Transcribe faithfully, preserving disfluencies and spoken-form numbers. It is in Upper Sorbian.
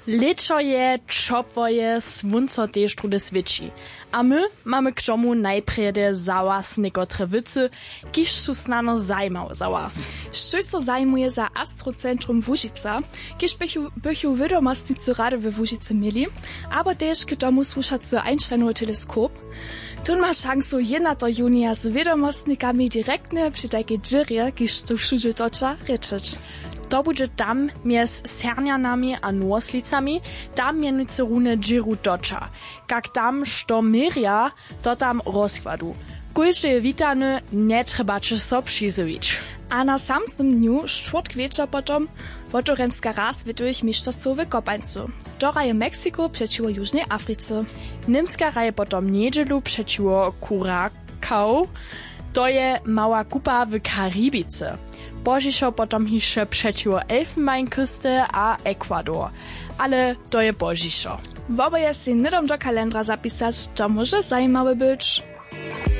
Lěćo je, ćopło je, słónco tež druhdy swěći. A my mamy k tomu najprjedy za was někotre wěcy, kiž su snano zajimawe za was. Štóž so zajimuje za astrocentrum łužica, kiž bychu bychu wědomostnicy rady we łužicy měli, abo tež k tomu słušacy einsteinowy teleskop? Tón ma šansu jědnateho junija z wědomostnikami direktnje při tajkej dźěrje, kiž tu wšudźe toča, rěčeć. To budźe tam mjez sernjanami a nowoslicami. Tam mjenujcy runje dźěru toča, kak tam što měrja, to tam rozkładu. Kóždy je witany, njetrjebaće so přizjewić. A na samsnym dnju štwórtk wječor potom wotewrjenska raz swětowych mišćerstwow w kopańcu. To hraje meksiko přećiwo južnej africe. Němska hraje potom njedźelu přećiwo kurakau. To je mała kupa w karibice. Pozdźišo potom hišće přećiwo elfenbeinküste a ecuador. Ale to je pozdźišo. Woboje sej hnydom do kalendra zapisać, to móže zajimawe być.